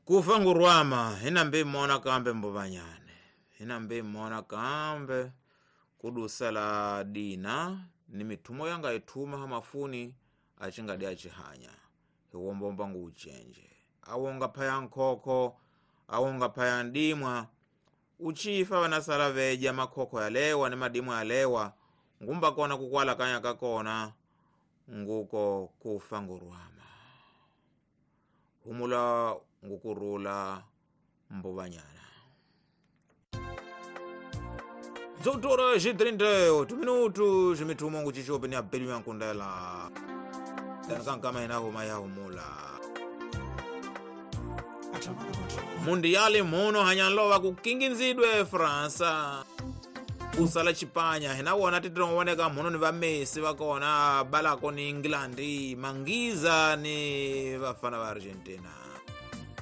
Kufa ngurwama hinambe mona kambe mbovanyane hinambe mona kambe kudusala dina ni mithumo yanga ithuma hamafuni acingadi acihanya hiwombomba nguucenje awonga phaya nkhokho awonga phaya ndimwa uchifa vanasala veja makhokho yalewa ni madimwa yalewa ngumba kona kukwala kanya kakona nguko kufa ngurwama humula ngukurula mbovanyana. 18 e 38 minutos mithumo nguchichope ni abelu yankundela tanikankama inahuma yahumula mundiyali muno hanyanlova kukinginzidwe Fransa kusala Chipanya hinawona titilongowoneka muno ni va Messi vakona balako ni England mangiza ni vafana va Argentina.